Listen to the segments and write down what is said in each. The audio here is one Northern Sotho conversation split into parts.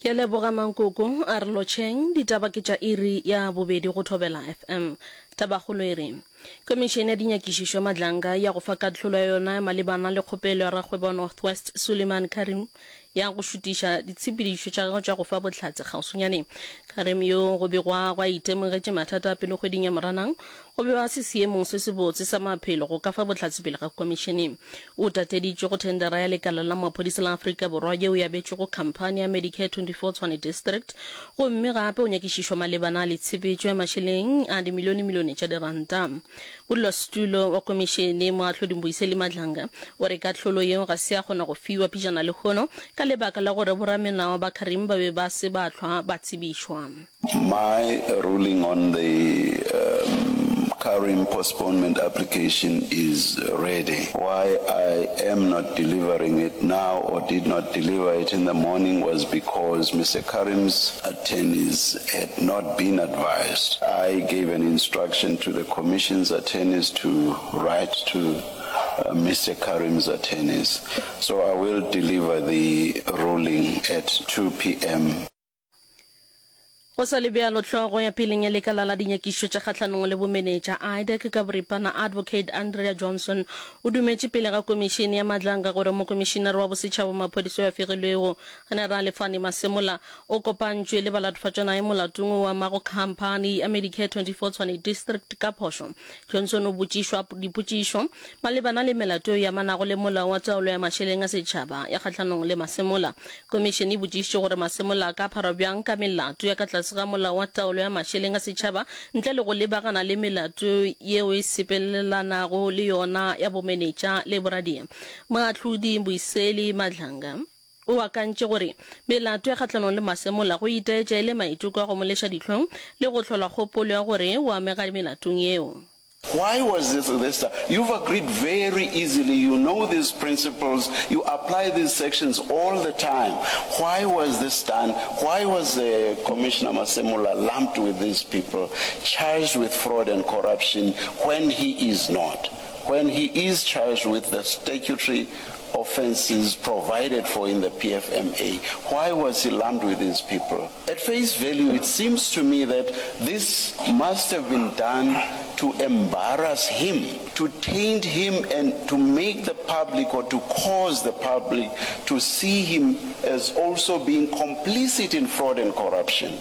Ke a leboga Mankoko, a re lotšheng, ditaba ke tša iri ya bobedi go Thobela FM. Tabakgolo e re, Komišene ya Dinyakišišo ya Madlanga ya go fa kahlolo ya yona malebana le kgopelo ya rakgwebo wa North West Suleiman Carrim ya go šutiša ditshepedišo tša gagwe tša go fa bohlatse kgauswinyane. Carrim yo go begwago a itemogetše mathata a pelo kgweding ya Moranang, o be a se seemong se sebotse sa maphelo go ka fa bohlatse pele ga komišene. O tateditšwe go thendera ya lekala la maphodisa la Afrika Borwa yeo e abetšwego khamphani ya Medicare 24 Tshwane District gomme gape o nyakišišwa malebana le tshepetšo ya mašeleng a dimilionemilione tša diranta. Modulasetulo wa komišene, Moahlodi Mbuyiseli Madlanga, o re kahlolo yeo ga se ya kgona go fiwa pejana lehono ka lebaka la gore boramelao ba Carrim ba be ba se ba hlwa ba tsebišwa. My ruling on the um, Carrim postponement application is ready. Why I am not delivering it now or did not deliver it in the morning was because Mr. Carrim's attorneys had not been advised. I gave an instruction to the commission's attorneys to write to uh, Mr. Carrim's attorneys. So I will deliver the ruling at 2 p.m. Go sa le bjalo, hlogo ya peleng ya lekala la dinyakišišo tša kgahlanong le bomenetša, IDAC, ka boripana, Advocate Andrea Johnson, o dumetše pele ga komišene ya Madlanga gore mokomišinare wa bosetšhaba wa maphodisa yo a fegilwego, Generale Fannie Masemola, o kopantšwe le balatofatšwanae molatong o amago khamphani ya Medicare 24 Tshwane District ka phošo. Johnson o botšišwa dipotšišo malebana le melato yeo e amanago le Molao wa Taolo ya Mašeleng a Setšhaba ya kgahlanong le Masemola. Komišene e botšišitše gore Masemola a ka pharwa bjang ka melato ya ka tlase ga Molao wa Taolo ya Mašeleng a Setšhaba ntle le go lebagana le melato yeo e sepelelanago le yona ya bomenetša le boradia. Moahlodi Mbuyiseli Madlanga o akantše gore melato ya kgahlanong le Masemola go itaetša e le maiteko a go mo leša dihlong le go hlola kgopolo ya gore o amega melatong yeo. Why was this this You've agreed very easily, you know these principles, you apply these sections all the time. Why was this done? Why was uh, Commissioner Masemola lumped with these people, charged with fraud and corruption when he is not? When he is charged with the statutory offenses provided for in the PFMA, why was he lumped with these people? At face value, it seems to me that this must have been done to embarrass him, to taint him and to make the public or to cause the public to see him as also being complicit in fraud and corruption.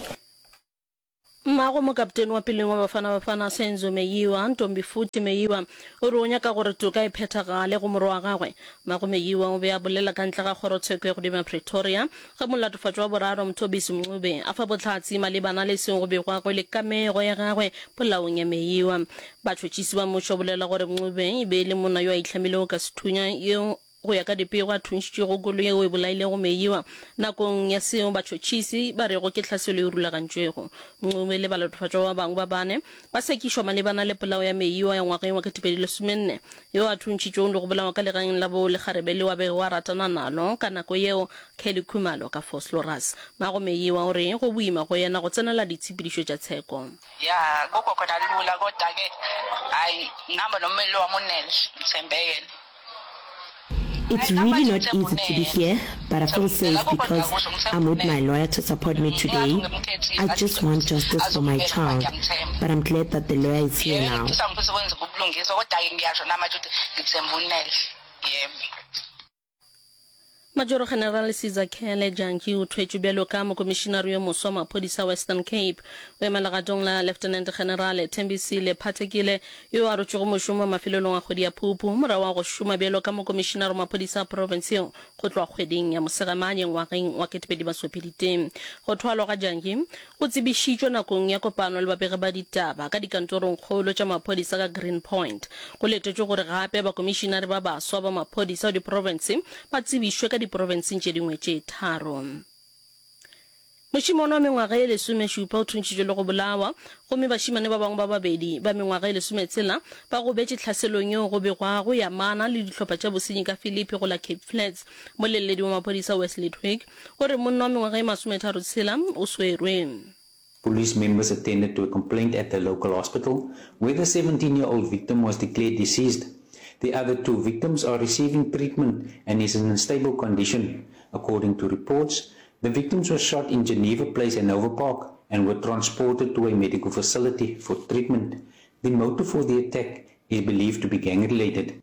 Mmago mokaptene wa peleng wa Bafana Bafana Senzo Meyiwa, Ntombifuthi Meyiwa, o re o nyaka gore toka e phethagale go morwa wa gagwe. Mmago Meyiwa o be a bolela ka ntle ga kgorotsheko ya godimo ya Pretoria ge molatofatšwa wa boraro Mthobisi Mncube a fa bohlatse malebana le seo go begwago e le kamego ya gagwe polaong ya Meyiwa. Batšhotšhisi ba mmušo ba bolela gore Mncube e be e le monna yo a itlhamilego ka sethunya yo Go ya ka dipego, a thuntšitšwego koloi yeo e bolailego Meyiwa nakong ya seo batšhotšhisi ba rego ke tlhaselo e rulagantšwego. Ncube le balatofatšwa ba bangwe ba bane ba sekišwa malebana le polao ya Meyiwa ya ngwageng wa 2014, yo a thuntšitšwego le go bolawa ka legaeng la bo lekgarebe leo a bego a ratana nalo ka nako yeo, Kelly Khumalo ka Vosloorus. Mmago Meyiwa o re go boima go yena go tsenela ditshepedišo tša tsheko. Ya akukho khona lula kodwa ke hhayi ngihamba nommeli wami uNel ngithembe yena. It's really not easy to be here, but I feel safe because I'm with my lawyer to support me today. I just want justice for my child, but I'm glad that the lawyer is here now. Majoro General Sizakele Jantjie o thwetšwe bjalo ka mokomišinare yo moswa wa maphodisa Western Cape. O ema legatong la Lieutenant General Thembisile Phathekile yo a rotšego mošomo mafelelong a kgwedi ya Phupu morago ga go šoma bjalo ka mokomišinare wa maphodisa a profense yeo go tloga kgweding ya Mosegamanye ngwageng wa 2023. Go thwalwa ga Jantjie go tsebišitšwe nakong ya kopano le babegi ba ditaba ka dikantorongkgolo tša maphodisa ka Green Point. Go letetšwe gore gape bakomišinare ba baswa ba maphodisa ba diprofense ba tsebišwe ka diprofenseng tše dingwe tše tharo. Mošemane wa mengwaga ye lesomešupa o thuntšhitšwe le go bolawa, gomme bašemane ba bangwe ba babedi ba mengwaga ye lesometshela ba gobetše tlhaselong yeo go begwago e amana le dihlopha tša bosenyi ka Philippi go la Cape Flats. Moleledi wa maphodisa Wesley Twigg o re monna wa mengwaga ye masometharotshela o swerwe. Police members attended to a complaint at the local hospital where the 17-year-old victim was declared deceased. The other two victims are receiving treatment and is in a stable condition. According to reports, The victims were shot in Geneva Place and Nova Park and were transported to a medical facility for treatment. The motive for the attack is believed to be gang-related.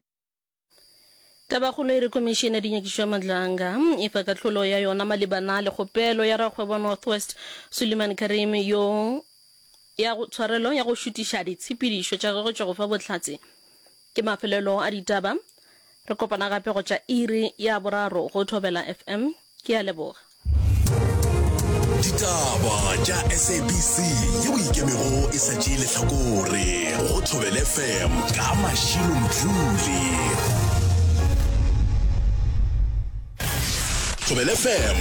Tabakgolo e re Khomišene ya Dinyakišišo ya Madlanga e fa kahlolo ya yona malebana le kgopelo ya rakgwebo wa North West Suleiman Karim yo ya go tshwarelo ya go šutiša ditshepedišo tša gagwe tša go fa bohlatse. Ke mafelelo a ditaba. Re kopana gape go tša iri ya boraro go Thobela FM. Ke a leboga. Ditaba tša SABC yeo e ikemego e sa tšee lehlakore go Thobela FM ka Mashilo Mdluli. Thobela FM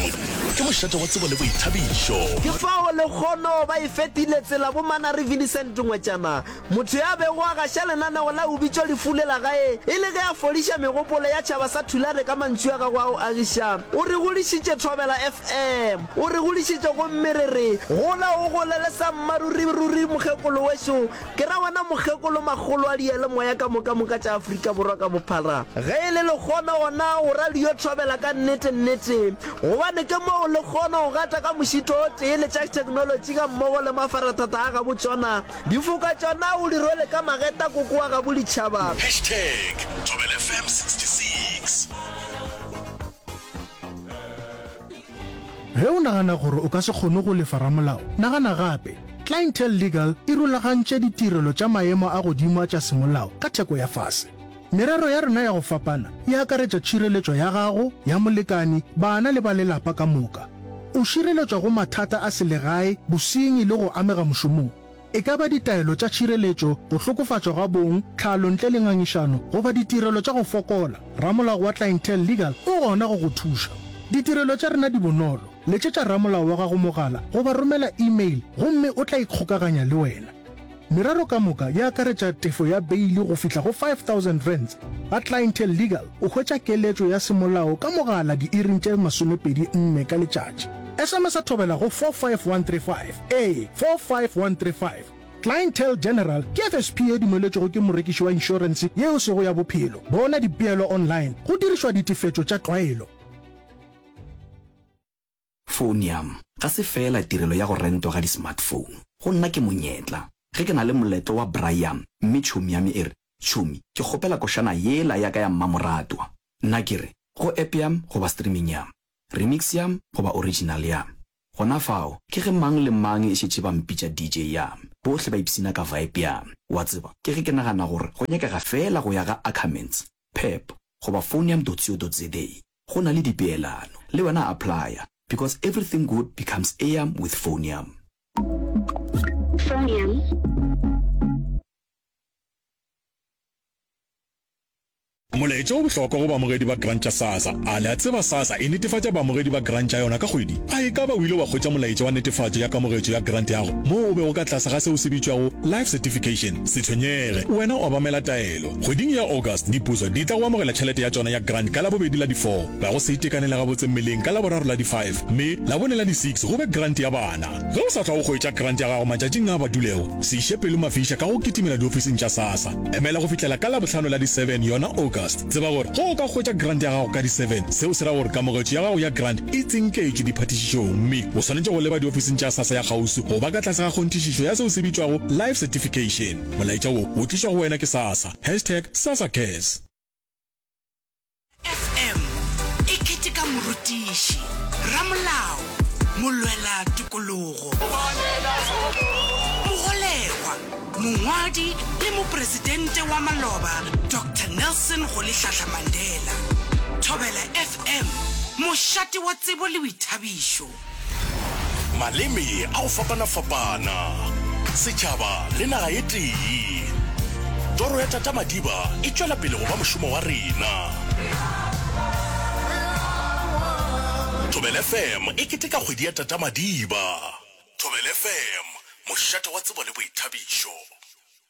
ke mošate wa tsebo le boithabišo. Ke fao lekgono ba e fetile tsela bo Manare Vincent Ngwetšana Motho ya bego a gaša lenaneo la O Bitšwa Lefu le la Gae e le ge a fodiša megopolo ya tšhaba sa Thulare ka mantšu a gagwe a go agiša, o re godišitše Thobela FM. O re godišitše gomme re re, Gola o golele sa mmaruri ruri mokgekolo wešo, ke ra wena mokgekolo makgolo a diyalemoya ka moka moka tša Afrika Borwa ka bophara. Ge e le lekgono gona o ra le yo thobela ka nnete nnete, gobane ke moo lekgono o gata ka mošito o tee le tša theknolotši gammogo le mafarathata a gabo tšona. Difoka tšona o di rwele ka mageta koko wa gabo ditšhaba. Hashtag Thobela FM 66. Ge o nagana gore o ka se kgone go lefa ramolao, nagana gape. Clientele Legal e rulagantše ditirelo tša maemo a godimo a tša semolao ka theko ya fase. Merero ya rena ya go fapana e akaretša tšhireletšo ya gago, ya molekani, bana le ba lelapa ka moka. O šireletšwa go mathata a selegae, bosenyi le go amega mošomong. E ka ba ditaelo tša tšhireletšo, go hlokofatšwa ga bong, tlhalo ntle le ngangišano goba ditirelo tša go fokola, ramolao wa Clientele Legal o gona go go thuša. Ditirelo tša rena di bonolo, letšetša ramolao wa gago mogala goba romela email gomme o tla ikgokaganya le wena. Merero ka moka e akaretša tefo ya beili go fihla go R5000. Ga Clientele Legal o hwetša keletšo ya semolao ka mogala diiring tše 24 ka letšatši. SMS-a thobela go 45135, ee, 45135. Clientele General ke FSP ye dumeletšwego ke morekiši wa inšorense ye e sego ya bophelo. Bona dipeelo online go dirišwa ditefetšo tša tlwaelo. Phonium ga se feela tirelo ya go rentwa ga di-smartphone. Go nna ke monyetla. Ge ke na le moletlo wa braai yam mme tšhomi ya me e re, Tšhomi, ke kgopela košana yela ya ka ya mmamoratwa. Nna ke re, Go app yam goba streaming yam? Remix yam goba original yam? Gona fao, ke ge mang le mang e šetše ba mpitša DJ yam. Bohle ba ipshina ka vibe yam. Wa tseba, ke ge ke nagana gore go nyakega feela go ya ga Ackermans, Pep, goba phonium dot co dot za. Go na le dipeelano. Le wena applya because everything good becomes eam with Phonium. Phonium. Molaetša o bohlokwa go baamogedi ba grant tša SASSA. A le a tseba SASSA e netefatša baamogedi ba grant tša yona ka kgwedi? A e ka ba o ile wa hwetša molaetša wa netefatšo ya kamogetšo ya grant ya gago moo o bego ka tlase ga seo se bitšwago Life Certification? Se tshwenyege, wena obamela taelo. Kgweding ya August, dipuso di tla go amogela tšhelete ya tšona ya grant ka Labobedi la di four, ba go se itekanele gabotse mmeleng ka Laboraro la di five, mme Labone la di six go be grant ya bana. Ge o sa hlwa o hwetša grant ya gago matšatšing a badulego, se iše pelo mafiša ka go kitimela diofising tša SASSA. Emela go fihlela ka Labohlano la di seven yona August. Tseba gore ge o ka hwetša grant ya gago ka di seven, seo se ra gore kamogetšo ya gago ya grant e tsinketšwe diphatišišong mme o swanetše go leba diofising tša SASSA ya kgauswi go ba ka tlase ga kgonthišišo ya seo se bitšwago Life Certification. Molaetša wo o tlišwa go wena ke SASSA. Hashtag SASSACares. FM e keteka morutiši, ramolao, molwela tokologo, mogolegwa, mongwadi le mopresidente wa maloba Doctor Nelson Rolihlahla Mandela. Thobela FM, mošate wa tsebo le boithabišo. Maleme a go fapana-fapana, setšhaba le naga e tee. Toro ya Tata Madiba e tšwela pele go ba mošomo wa rena. Thobela FM e keteka kgwedi ya Tata Madiba. Thobela FM, mošate wa tsebo le boithabišo.